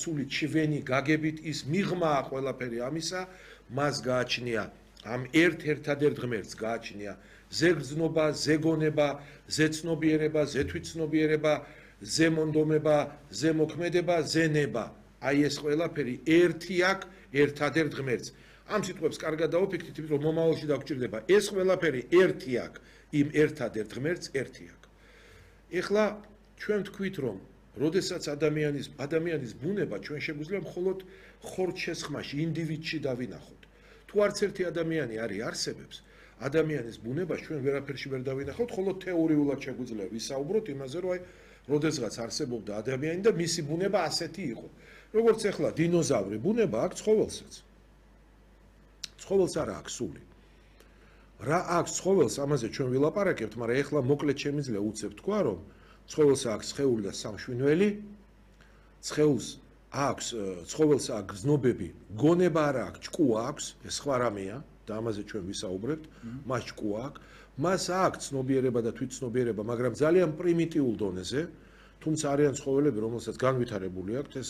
სული ჩვენი გაგებით ის მიღმა ყველაფერი ამისა მას გააჩნია ამ ერთ-ერთადერთ ღმერთს გააჩნია ზეგრძნობა, ზეგონება, ზეცნობიერება, ზეთვითცნობიერება, ზემონდომება, ზემოქმედება, ზენება. აი ეს ყველაფერი ერთი აქ ერთადერთ ღმერთს. ამ სიტყვებს კარგად დაუფიქრეთ, იმიტომ რომ მომავალში დაგჭირდება. ეს ყველაფერი ერთი აქ იმ ერთადერთ ღმერთს ერთი აქ. ეხლა ჩვენ თქვით რომ როდესაც ადამიანის ბუნება ჩვენ შეგვიძლია მხოლოდ ხორცშესხმაში, ინდივიდში დავინახოთ. თუ არც ერთი ადამიანი არსებობს, ადამიანის ბუნებას ჩვენ ვერაფერში ვერ დავინახავთ, ხოლო თეორიულად შეგვიძლია ვისაუბროთ იმაზე, რომ აი როდესღაც არსებობდა ადამიანი და მისი ბუნება ასეთი იყო. როგორც ეხლა დინოზავრი ბუნება აქვს ცხოველსაც. ცხოველს არა აქვს სული. რა აქვს ცხოველს, ამაზე ჩვენ ვილაპარაკებთ, მაგრამ ეხლა მოკლედ შემიძლია უცებ თქვა, რომ ცხოველს აქვს სხეული და სამშვინველი, ცხოველს აქვს გზნობები, გონება არა აქვს, ჭკუა აქვს, ეს სხვა რამეა და ამაზე ჩვენ ვისაუბრებთ, მას ჭკუა აქვს, მას აქვს ცნობიერება და თვითცნობიერება, მაგრამ ძალიან პრიმიტიულ დონეზე, თუმცა არიან ცხოველები, რომელსაც განვითარებული აქვს ეს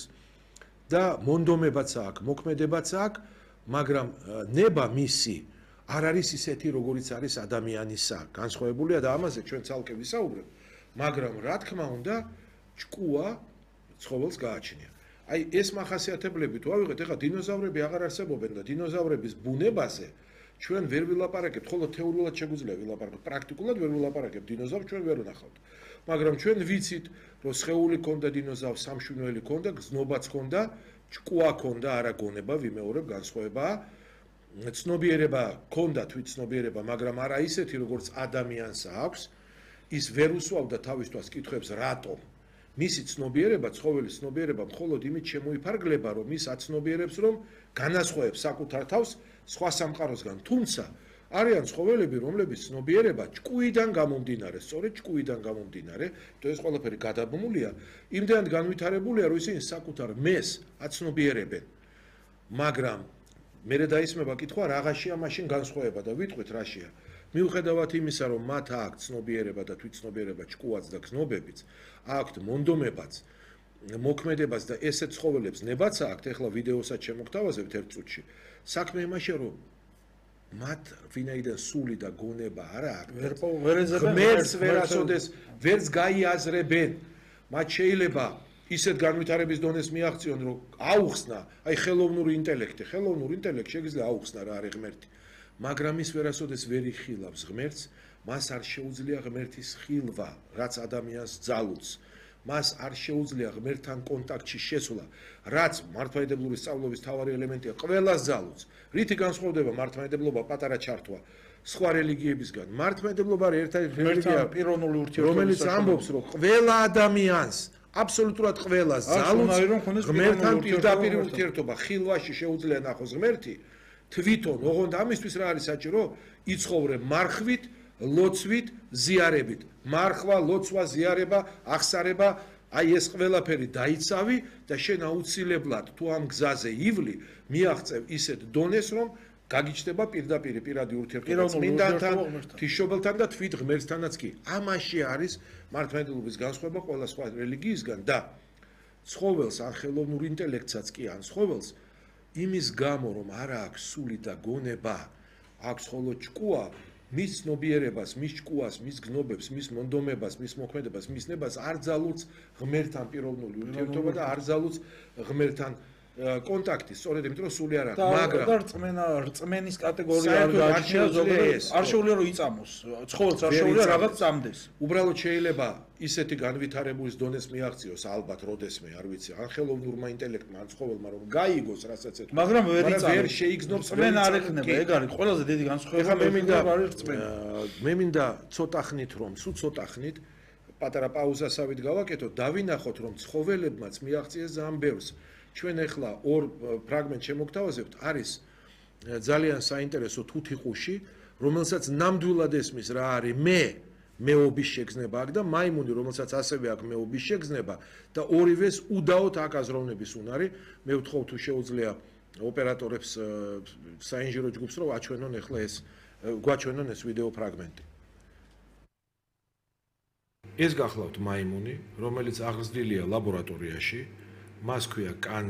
და მონდომებაც აქვს, მოქმედებაც აქვს, მაგრამ ნება მისი არ არის ისეთი, როგორიც არის ადამიანისა, განსხვავებულია და ამაზე ჩვენ ცალკე ვისაუბრებთ. მაგრამ რა თქმა უნდა, ჭკუა ცხოველს გააჩნია. აი ეს მახასიათებლები თუ ავიღეთ, ეხლა დინოზავრები აღარ არსებობენ და დინოზავრების ბუნებაზე ჩვენ ვერ ვილაპარაკებთ, ხოლო თეორიულად შეგვიძლია ვილაპარაკოთ, პრაქტიკულად ვერ ვილაპარაკებთ, დინოზავრს ჩვენ ვერ ვნახავთ. მაგრამ ჩვენ ვიცით, რომ სხეული ქონდა დინოზავრს, სამშვინველი ქონდა, გზნობაც ქონდა, ჭკუა ქონდა, არა გონება, ვიმეორებ, განსხვავებაა. ცნობიერება ქონდა, თვითცნობიერება, მაგრამ არა ისეთი, როგორც ადამიანს აქვს. ის ვერ უსვავდა თავისთვას კითხვებს რატომ მისი ცნობიერება, ცხოველის ცნობიერება მხოლოდ იმით შემოიფარგლება, რომ ის აცნობიერებს, რომ განასხვავებს საკუთარ თავს სხვა სამყაროსგან. თუმცა არიან ცხოველები, რომლებიც ცნობიერება ჭკუიდან გამომდინარე, სწორედ ჭკუიდან გამომდინარე, ეს ყველაფერი გადაბმულია, იმდენად განვითარებულია, რომ ისინი საკუთარ მეს აცნობიერებენ. მაგრამ მერე დაისმება კითხვა, რაღაცია მაშინ განსხვავება და ვიტყვით რაშია. მიუხედავად იმისა, რომ მათ აქვს ცნობიერება და თვითცნობიერება, ჭკუაც და გზნობებიც, აქვთ მონდომებაც, მოქმედებაც და ესეთ ცხოველებს ნებაც აქვთ, ეხლა ვიდეოსაც შემოგთავაზებთ ერთ წუთში. საქმე იმაშია, რომ მათ ვინაიდან სული და გონება არ აქვს, ღმერთს ვერასოდეს ვერც გაიაზრებენ. მათ შეიძლება ისეთ განვითარების დონეს მიაღწიონ, რომ აუხსნა, აი ხელოვნური ინტელექტი შეიძლება აუხსნა რა არის ღმერთი. მაგრამ ის ვერასოდეს ვერ იხილავს ღმერთს, მას არ შეუძლია ღმერთის ხილვა, რაც ადამიანს ძალუძს. მას არ შეუძლია ღმერთთან კონტაქტში შესვლა, რაც მართლმადიდებლური სწავლობის მთავარი ელემენტია, ყველას ძალუძს. რითი განსხვავდება მართლმადიდებლობა პატარა ჩართვა სხვა რელიგიებისგან? მართლმადიდებლობა არის ერთადერთი რელიგია, რომელიც ამბობს, რომ ყველა ადამიანს აბსოლუტურად ყველას ძალუძს ღმერთთან პირდაპირ ურთიერთობა, ხილვაში შეუძლია ნახოს ღმერთი. თვითონ, ოღონდ ამისთვის რა არის საჭირო? იცხოვრე მარხვით, ლოცვით, ზიარებით. მარხვა, ლოცვა, ზიარება, აღსარება, აი ეს ყველაფერი დაიცავი და შენ აუცილებლად თუ ამ გზაზე ივლი, მიაღწევ ისეთ დონეს, რომ გაგიჩნდება პირადი ურთიერთობა წმინდანთან, ღვთისმშობელთან და თვით ღმერთთანაც კი. ამაში არის მართლმადიდებლობის განსხვავება ყველა სხვა რელიგიისგან და ცხოველს ან ხელოვნურ ინტელექტსაც კი ან ცხოველს იმის გამო, რომ არ აქვს სული და გონება, აქვს ხოლო ჭკუა, მის ცნობიერებას, მის ჭკუას, მის გზნობებს, მის მონდომებას, მის მოქმედებას, მის ნებას არ ძალუძს ღმერთთან პიროვნული ურთიერთობა და არ ძალუძს ღმერთთან კონტაქტი, სწორედ იმიტომ რომ სული არ აქვს, მაგრამ რწმენის კატეგორია არ გააჩნია ზოგადად, არ შეუძლია რომ იწამოს, ცხოველს არ შეუძლია რაღაც წამდეს. უბრალოდ შეიძლება ისეთი განვითარების დონეს მიაღწიოს ალბათ როდესმე, არ ვიცი, ან ხელოვნურმა ინტელექტმა, ან ცხოველმა რომ გაიგოს რასაც ეთქვა. მაგრამ ვერ შეიგზნობს რწმენა არ ექნება, ეგ არის ყველაზე დიდი განსხვავება. მე მინდა ცოტა ხნით რომ, სულ ცოტა ხნით პატარა პაუზასავით გავაკეთოთ, დავინახოთ რომ ცხოველებმაც მიაღწიეს ძალიან ბევრს. ჩვენ ახლა ორ ფრაგმენტს შემოგთავაზებთ, არის ძალიან საინტერესო თუთიყუში, რომელსაც ნამდვილად ესმის რა არის მეობის შეგრძნება აქვს და მაიმუნი, რომელსაც ასევე აქვს მეობის შეგრძნება და ორივეს უდაოდ აქვს აზროვნების უნარი. მე ვთხოვ თუ შეუძლია ოპერატორებს საინჟინრო ჯგუფს რომ აჩვენონ ახლა გვაჩვენონ ეს ვიდეო ფრაგმენტი. ეს გახლავთ მაიმუნი, რომელიც აღზრდილია ლაბორატორიაში მას ქვია კან